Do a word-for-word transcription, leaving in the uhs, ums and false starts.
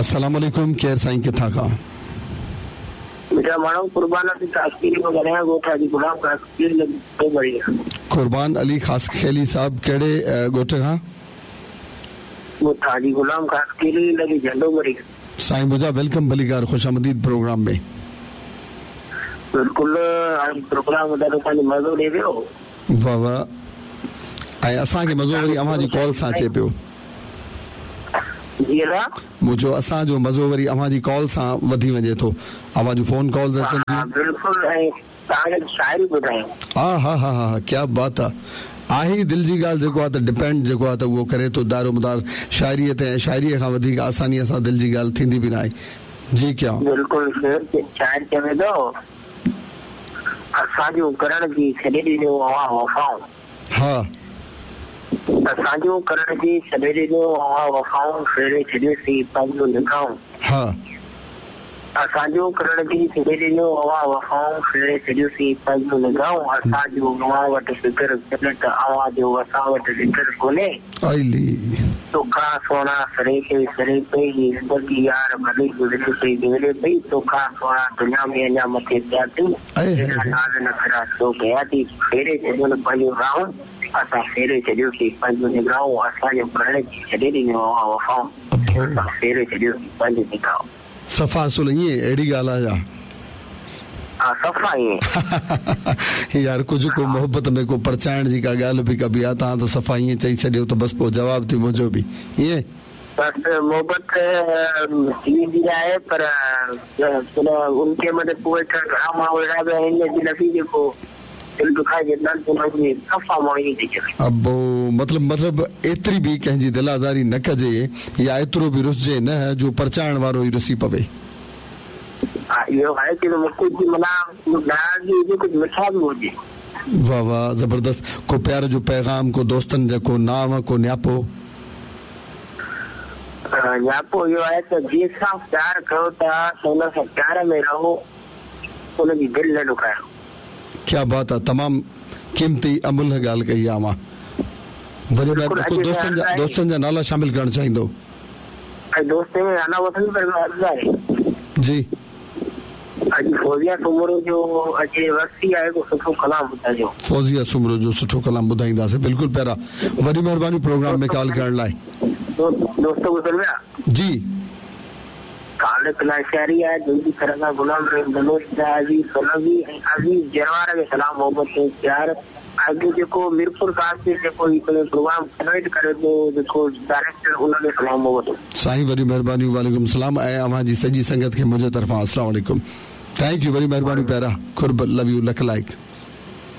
अस्सलाम वालेकुम, केरु साईं किथां खां? मिठा माण्हू कुर्बान अली ख़ासखेली मां ॻाल्हायां, ॻोठ हाजी ग़ुलाम ख़ासखेली। कुर्बान अली ख़ासखेली साहब कहिड़े ॻोठ खां? ॻोठ हाजी ग़ुलाम ख़ासखेली लॻी झंडो मरी। साईं मुंहिंजा welcome भलीकार, ख़ुशामदीद प्रोग्राम में। बिल्कुलु प्रोग्राम ॾाढो पंहिंजो मज़ो ॾिए पियो। वाह वाह, ऐं असांखे मज़ो वरी अव्हां जी कॉल सां अचे पियो। मुंहिंजो असांजो मज़ो वरी अव्हां जी कॉल सां वधी वञे थो, अव्हां जूं फोन कॉल्स अचनि थियूं। बिल्कुलु, ऐं तव्हांखे शाइरी ॿुधायूं। हा हा हा हा, क्या बात आहे। आहे ई दिलि जी ॻाल्हि जेको आहे त डिपेंड जेको आहे त उहो करे थो दारोमदार शाइरीअ ते, ऐं शाइरीअ खां वधीक आसानीअ सां दिलि जी ॻाल्हि थींदी बि न आहे। जी क्या? बिल्कुलु, शाइर चवे थो असांजो करण जी छॾे ॾिनो अव्हां वफ़ाऊं। हा, असांजो करण जी छॾे ॾिनो अव्हां वफ़ाऊं, फेरे छॾियोसीं पंहिंजो निगाहूं। हा, असांजो करण जी छॾे ॾिनो अव्हां वफ़ाऊं, फेरे छॾियोसीं पंहिंजो निगाहूं। असांजो अव्हां वटि फ़िक्र कोन्हे त अव्हांजो असां वटि ज़िक्र कोन्हे। तोखां सोना सरे खे सरे पई, ज़िंदगी यार भली गुज़रे पई गुज़रे पई। तोखां सोना दुनिया में अञा मथे पिया थी, नाज़ नखरा छो कया थी। फेरे छॾियो न पंहिंजो राहूं, असां फेरे छॾियोसीं पंहिंजो निगाहूं। असांजो करण जी छॾे ॾिनो अव्हां वफ़ाऊं, असां फेरे छॾियोसीं पंहिंजो निगाहूं। सफ़ा असुल ईअं अहिड़ी ॻाल्हि आहे छा? हा, सफ़ा ईअं। यार कुझु को मोहबत में को परचाइण जी का ॻाल्हि बि कबी आहे, तव्हां त सफ़ा ईअं चई छॾियो त बसि पोइ जवाबु थी मुंहिंजो बि ईअं। बसि मोहबत थी वेंदी आहे, पर उनखे मतिलबु पोइ घणा माण्हू अहिड़ा बि आहिनि अजनबी जेको दिलि दुखाए छॾींदा आहिनि, उन्हनि खे सफ़ा माण्हू ईअं थी चवे। अबो मतिलबु मतिलबु एतिरी बि कंहिंजी दिलि आज़ारी न कजे या एतिरो बि रुसिजे न जो परचाइण वारो ई रुसी पवे। हा, इहो आहे की कुझु माना नाराज़गी हुजे, कुझु मिठा बि हुजे। वाह वाह, ज़बरदस्त। को प्यार जो पैगाम, को दोस्तनि जो को नाम, को न्यापो? न्यापो इहो आहे त जंहिंसां प्यार कयो था त हुन सां प्यार में रहो, हुनजी दिलि न ॾुखायो। क्या बात आहे, तमामु क़ीमती अमुल्ह ॻाल्हि कई आहे अव्हां। वॾे दोस्तनि जा दोस्तनि जा नाला शामिल करणु चाहींदो? दोस्त में नाला वठनि, पर अर्ज़ु आहे जी। अॼु फौजिया सुमरो जो अॼु वरसी आहे, को सुठो कलाम ॿुधाइजो। फौजिया सुमरो जो सुठो कलाम ॿुधाईंदासीं। बिल्कुलु प्यारा, वॾी महिरबानी प्रोग्राम में कॉल करण लाइ। दोस्तो गुज़र विया जी। काल शहरी आहे, दिलि जी तरह सां गुलाम रहीम बलोच, अज़ीज़ सोलंकी ऐं अज़ीज़ जरवार खे सलाम, मोहबत ऐं प्यार। अॼु जेको मीरपुर खास ते जेको हिकिड़ो प्रोग्राम कन्वर्ट करे थो जेको डायरेक्टर, उनखे सलाम मोहबत। साईं वॾी महिरबानी, वालेकुम सलाम। ऐं अव्हां जी सॼी संगत खे मुंहिंजे तरफ़ां अस्सलाम वालेकुम। Thank you, वॾी महिरबानी प्यारा। ख़ुर्ब, लव you, luck like.